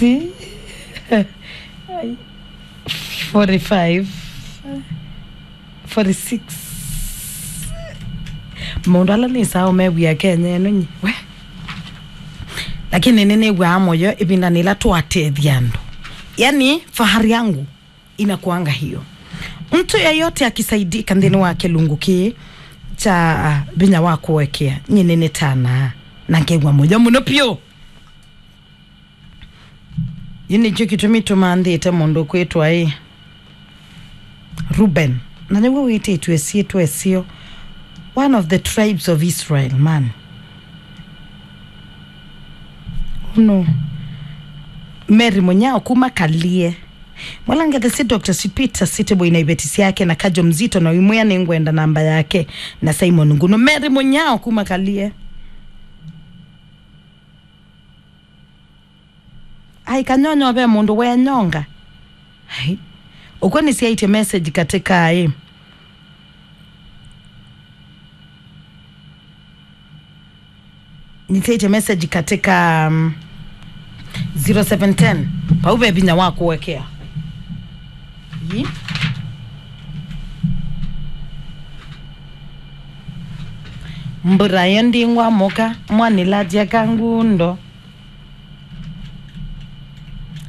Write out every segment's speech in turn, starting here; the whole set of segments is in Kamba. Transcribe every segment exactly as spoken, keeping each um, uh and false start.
Ai. forty-five, forty-six. Maũndũ ala nĩsaa ũmew'ĩa Kenya ĩno nyi we. Lakini nĩnĩw'aa mũyo ĩvindanĩ ĩla twatethya andũ. Yani, fahari yangu inakuanga hiyo. Mtu yeyote akisaidika nthĩnĩ wa kĩlungu kĩĩ kya, ah, vinya wa kũekea, nyie nĩnĩtanaa na ngew'a mũyo mũno vyũ. Yu nĩkyo kĩtumi tũmanthĩte mũndũ kwĩtwa ĩ Ruben. Na nĩw'o wĩtĩtwe syĩtwa ĩseo. One of the tribes of Israel, man. Uno. Mary Munyao kuma Kalie. Mwalangethe si Doctor Sipita Sitiboi na iveti syake na Kajo Mzito na Imwĩa nĩngwenda namba yake na Simon Nguno. Mary Munyao kuma Kalie. Ai, Kanyonyo ve mũndũ wenyonga. Ai. Ũkw'o nĩsyaĩtye message katika ĩ. Nĩsyaĩtye message katika, um, zero seven ten. Vau ve vinya wa kũekea. Yi. Mbura yo ndingwa mũka, mwanĩlatya kangundo.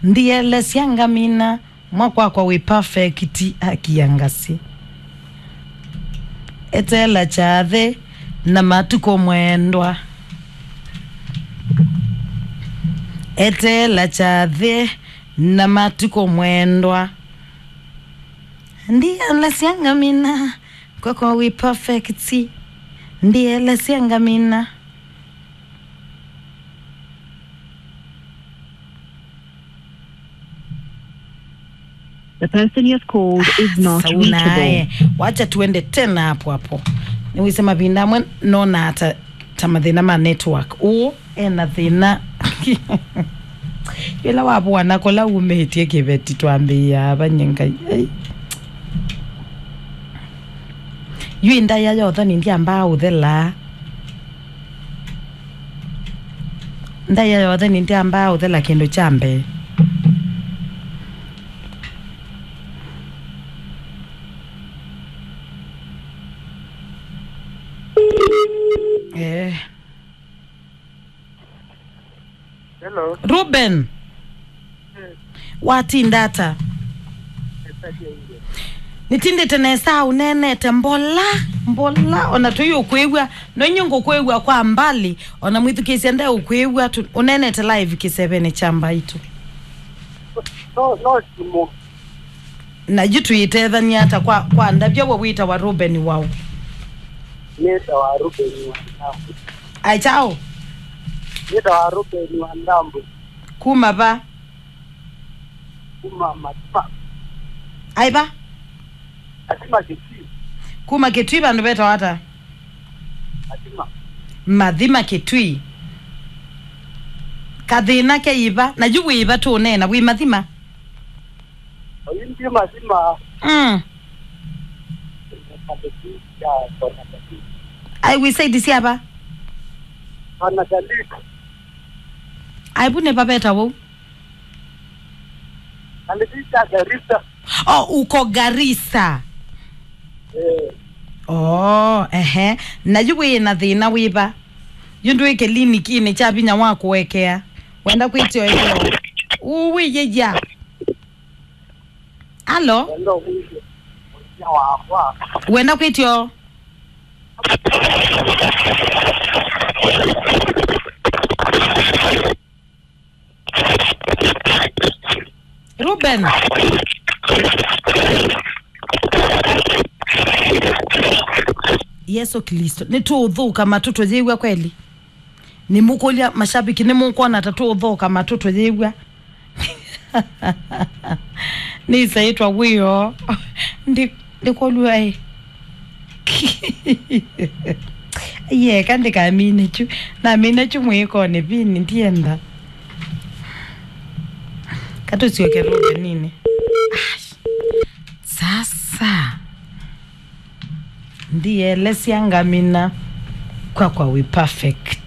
Ndielesya ngamina, mwakwakwa wĩ perfect, akia ngasi. Eteela kyathĩ na matukũ mwendwa. Eteela kyathĩ na matukũ mwendwa. Ndielesya ngamina, kwakwa wĩ perfect. Ndielesya ngamina. The person you have called is not reachable. Sauna, eh. Wacha tuende tena hapo hapo. Niwise mavinda amwe nona hata ta mathĩna ma network. Ũ, ena thĩna. Ĩla wavũana kũla umĩtye kĩveti twambĩĩa ava nye Ngai. Ei. Yu ndaĩa ya ũthoni ndyambaa ũthela. Ndaĩa ya ũthoni ndyambaa ũthela kĩndũ kya mbee. Eh. Hello. Ruben. Watinda ata? Nĩtindĩte nesa, ũneenete mbola, mbola, ona tũi ũkwĩw'a, no inyu ngũkwĩw'a kwa mbali, ona mwĩthukĩĩsya nde ũkwĩw'a, tu-, ũneenete live kĩsevenĩ kya Mbaitũ. No, no simũ. Na yu tũitethany'a ata kwa, kwa ndavya we wĩtawa Ruben waũ? Nĩtawa Ruben wa Ndambũ. Ai kyaũ? Nĩtawa Ruben wa Ndambũ. Kuma va? Kuma Mathima. Ai va? Mathima Kitui. Kuma Kitui vandũ vetawa ata? Mathima. Mathima Kitui. Kathĩna ke iva? Na yu wĩ iva tũneena? Wĩ Mathima? Oyu ndi Mathima. Mm. Ai, wĩ side sya va? Ana Galika. Ai, vu nĩ va vetawa ũu? Nalivita Garissa. Oh, uko Garissa. Eh. Oh, ehe. Na yu wĩ na thĩna wĩva? Yu ndwĩ kĩlinikinĩ kya vinya wa kũekea. Wenda kwĩtio ĩkeo. Uwĩ yĩya. Alo? Wenda kwĩtio. Wenda kwĩtio. Ruben. Yesu Kristo. Nĩtũũthũka matũ tũyĩw'a kweli? Nĩmũkũlya mashabiki, nĩmũkwona ta tũũthũka matũ tũyĩw'a? Nĩsaĩtwa wĩoo. Ndi-, ndĩkolw'a ĩ. Yeka ndĩkamine kyu. Namine kyu mwĩkonĩ vini ndienda. Katũsyoke Rubeninĩ. Ai. Sasa. Ndielesya ngamina. Kwakwa wĩ perfect.